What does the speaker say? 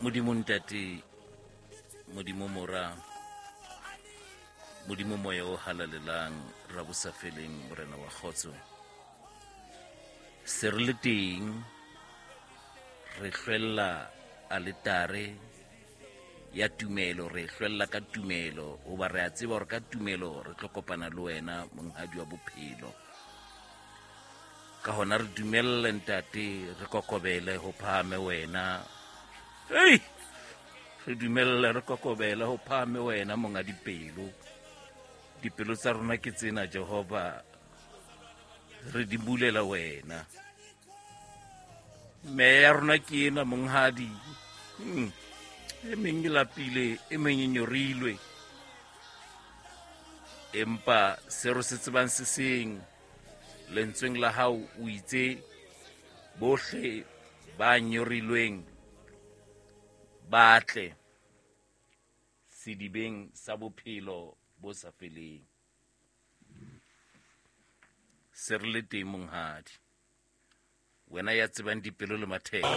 Modimo Ntate, Modimo Mora, Modimo Moya o Halalelang, Rabosafeleng, Morena wa Kgotso. Se re le teng, re hlwella aletare ya tumelo, re hlwella ka tumelo, hoba re a tseba hore ka tumelo re tlo kopana le wena, monghadi wa bophelo. Ka hona re dumelle, Ntate, re kokobele ho phahame wena. Hei, re dumelle re kokobele ho phahame wena, monga dipelo. Dipelo tsa rona ke tsena, Jehova, re di bulela wena. Meya ya rona ke ena, monghadi. E meng e lapile, e meng e nyorilwe, empa se re se tsebang se seng, lentsweng la hao o itse bohle ba nyorilweng ba tle sedibeng sa bophelo bo sa feleng. Se re le teng, monghadi, wena ya tsebang dipelo le matheka.